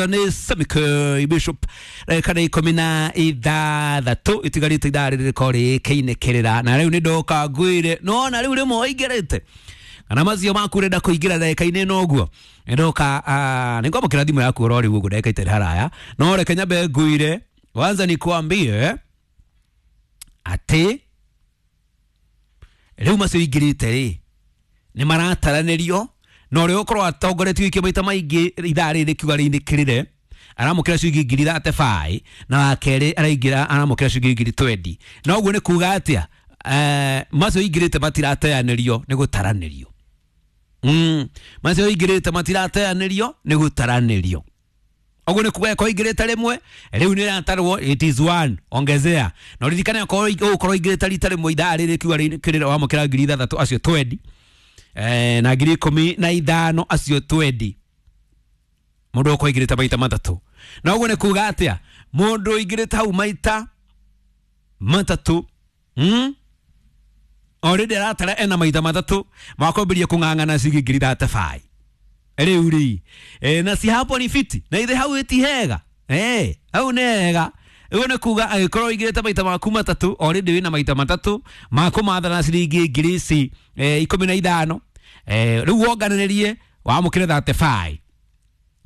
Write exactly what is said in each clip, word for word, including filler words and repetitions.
Nĩ Samike Bishop ndagĩka ikũmi na ithathatũ itigarĩte ithaa rĩrĩ rĩkorwo rĩkĩinĩkĩrĩra na rĩu nĩ ndoka ngwĩre nona rĩu rĩmwe waingĩrĩte kana macio maku ũrenda kũingĩra ndagĩka-inĩ ĩno ũguo ndoka nĩ ngwamũkĩra thimũ yaku oro rĩu ũguo ndagĩka itarĩ haraya no reke nyambe ngwĩre kwanza nikuambie atĩ rĩu macio ingĩrĩte rĩ nĩ marataranĩrio na ũrĩa ũkorwo atongoretie wiki maita maingĩ ithaa rĩrĩ rĩkiuga rĩinĩkĩrĩre aramũkĩra ciringi ngiri thate baĩ na wa kerĩ araingĩra aramũkĩra ciringi ngiri twendi na ũguo nĩ kuga atĩa eh, macio ingĩrĩte matirateanĩrio nĩ gũtaranĩrio mm. macio ingĩrĩte matirateanĩrio nĩ gũtaranĩrio ũguo nĩ kuga ko ingĩrĩte rĩmwe rĩu nĩ ĩratarwo it is one ongezea na ũririkane okorwo ũgũkorwo ingĩrĩte rita rĩmwe ithaa rĩrĩ kiuga rĩinĩkĩrĩre wamũkĩra ngiri ithathatũ acio twendi eh, na ngiri ikũmi na ithano acio twendi mũndũ ũkorwo aingĩrĩte maita matatũ na ũguo nĩ kuga atĩa mũndũ ũingĩrĩte hau maita matatũ mm? already aratara ena maita matatũ makwambĩrĩria kũng'ang'ana ciringi ngiri thate baĩ rĩu rĩ e, na si hapo ni fiti na ithe hau ĩti hega eh hau nĩ hega ũguo nĩ kuga angĩkorwo ũingĩrĩte maita maku matatũ already wĩna maita matatũ makũmatha na ciringi ngiri ici eh, ikũmi na ithano eh, rĩu wonganĩrĩrie wamũkĩre thate baĩ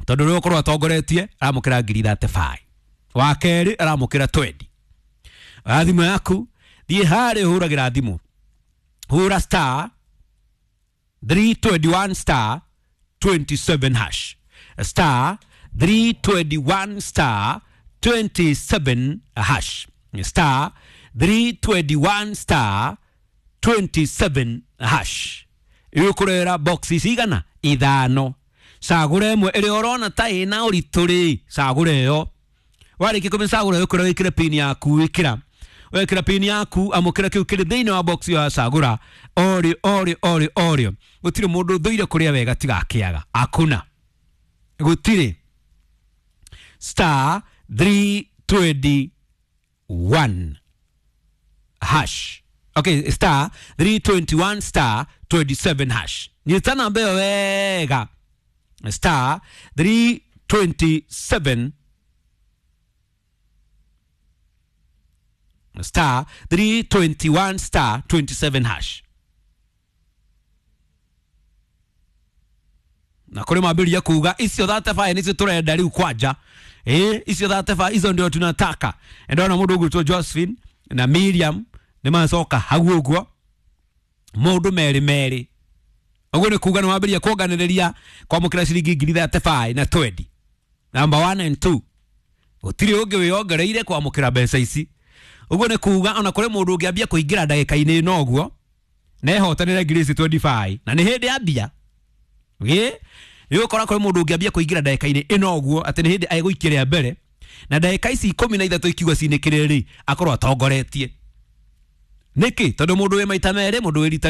tondũ rĩu ũkorwo atongoretie aramũkĩra ngiri thate baĩ wa kerĩ aramũkĩra twendi oya thimũ yaku thiĩ harĩa ũhũragĩra thimũ hũra star three twenty-one star twenty-seven hash star three twenty-one star twenty-seven hash star three twenty-one star twenty-seven hash ĩgũkũrehera boxi cigana ithano cagũra ĩmwe ĩrĩa ũrona ta ĩna ũritũ rĩ cagũra ĩyo warĩkia kũmĩcagũra ĩkũra wĩkĩre pin yaku wĩkĩra wekĩra pin yaku amũkĩra kĩu kĩrĩ thĩinĩ wa box ya cagũra orĩ orĩ orĩ orĩ gũtirĩ mũndũ ũthũire kũrĩa wega tigakĩaga akuna gũtirĩ star three twenty-one hash okay star three twenty-one star twenty-seven hash nyita namba ĩyo wega star three twenty-seven star three twenty-one star twenty-seven hash na kũrĩ mambĩrĩria kuga icio thate baĩ nĩcio tũrenda rĩu kwanja eh icio thate baĩ icio ndio tunataka ndona mũndũ ũgwĩtwo Josephine na Miriam nĩ macoka hau ũguo mũndũ merĩ merĩ ũguo nĩ kuga nĩ wambĩrĩria kuonganĩrĩria kwamũkĩra ciringi ngiri thate baĩ na twendi number one and two gũtirĩ ũngĩ wĩongereire kwamũkĩra mbeca ici ũguo nĩ kuga ona kũrĩ mũndũ ũngĩambia kũingĩra ndagĩka-inĩ ĩno ũguo na ehotanĩre ngiri ici twenty-five na nĩ hĩndĩ ambia ĩ nĩũgũkora kũrĩ mũndũ ũngĩambia kũingĩra ndagĩka-inĩ ĩno ũguo atĩ nĩ hĩndĩ egũikia rĩa mbere na ndagĩka ici ikũmi na ithatũ ikiuga cinĩkĩrĩre rĩ akorwo atongoretie nĩkĩ tondũ mũndũ wĩ maita merĩ mũndũ wĩ rita